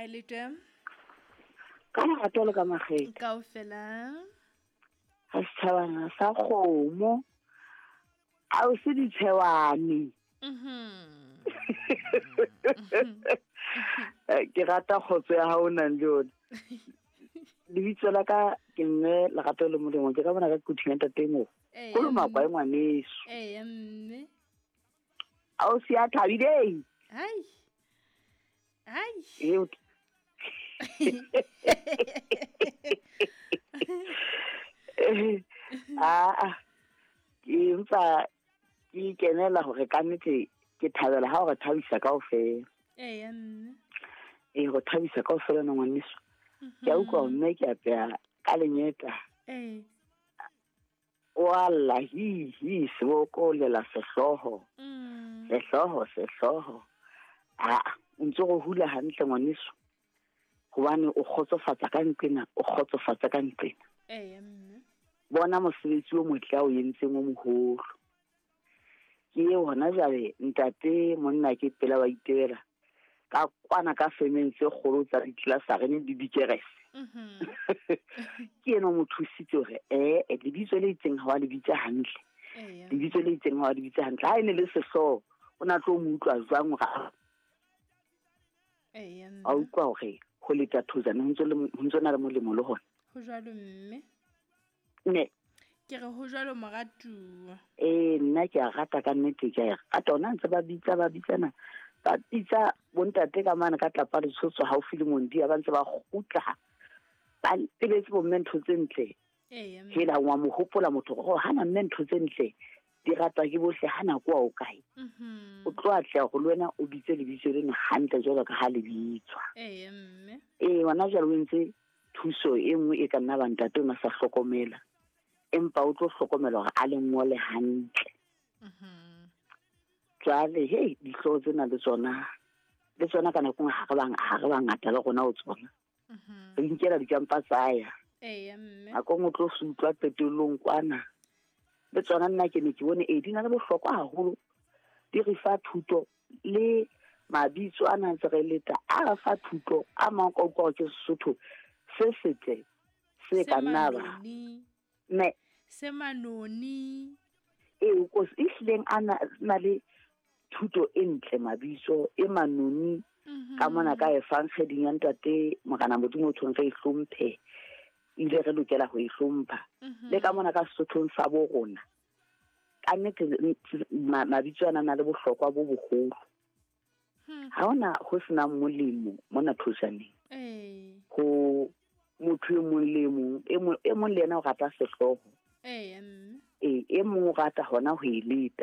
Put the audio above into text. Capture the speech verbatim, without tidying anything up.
Ha le teng? Ka lerato le ka makgethe. Kaofela. Ha setjhabana sa kgomo. A o se ditshewane. Mhm. Ke rata kgotso ya hao nang le yona. Lebitso la ka ke mme Lerato le Molemo, ke ka bona ka kuthing ya ntate mo. Ee, Kolomakwa e ngwaneso. Ee, mme. A o se a thabileng? Hai. Hai. Eo. Ah, ke ntsa ke kenela hore ka nnete ke thabela ha o re thabisa kaofela. Ee, mme. Ee, go thabisa kaofela na ngwaneso. Ke a utlwa mme ke apeya ka lenyeta. Ee. Wa lla hi hi seboko lela sehloho. Mm. Sehloho, sehloho. Ah, o ntse go hula hantle ngwaneso. Hobane o kgotsofatsa ka nqena, o kgotsofatsa ka nqena. Ee, mme. Bona mosebetsi o motle o entseng o moholo. Ke eo hona jwale ntate monna ke pela wa itebela. Ka kwana ka femeng tse kgolo tsa ditlelasarene le dikerese. Mhm. Ke ena o mo thusitse hore eh lebitso le itseng ha wa le bitsa hantle. Ee. Lebitso le itseng ha wa le bitsa hantle. Ha e ne le sehloho, o na tlo mo utlwa jwang hore a Ee, mme. A utlwa hore ho leta thojana ho ntso le ho ntso na le molemo le hona. Ho jwalo mme. Ne. Ke re ho jwalo moratuwa. Eh, nna ke a rata ka nnete, ke a rata ona ntse ba bitsa ba bitsana. Ba bitsa bontate ka mane ka tlapa letsotso haufi le Mondia ba ntse ba kgutla. Ba tebetse bomme ntho tse ntle. Ee, mme. Hela wa mo hopola motho hore hana mme ntho tse ntle di ratwa ke bohle hana kwa o kae. Mhm. O tlo atleha hore le wena o bitse lebitso leno hantle jwalo ka ha le bitswa. Ee, mme. Ee, hona jwale o entse thuso e nngwe e ka nna ba ntate o na sa hlokomela. Empa o tlo hlokomela hore a le ngole hantle. Mhm. Jwale, hei, dihlooho tsena le tsona, le tsona ka nako e nngwe ha re bang, ha re bangata le rona ho tsona. Mhm. Re inkela dikampa tsa ya. Ee, mme. Nako e nngwe o tlo se utlwa qetellong kwana. Le tsona nna ke ne ke bone, ee, di na le bohlokwa haholo. Di re fa thuto le mabitso a nang ntse re leta, a re fa thuto, a mang ka utlwa hore ke Sesotho se setle, se Se ka nna ba. manoni. Ne. Se manoni. Ee, o ko se, ehlileng a na, na le thuto e ntle mabitso, e manoni, Mhm. ka mona ka evangeleng ya ntate Morena Modimo o tshweng re e hlomphe, ebile re lokela ho e hlompha. Mhm. Le ka mona ka Sesothong sa bo rona, ka nnete, ma-, mabitso ana a na le bohlokwa bo boholo. Hmm. Ha hona ho senang molemo mona Thojaneng. Ee. Ho motho e mong le e mong, e mong, e mong le yena o rata sehlooho. Ee, mme. Ee, e mong o rata hona ho e leta.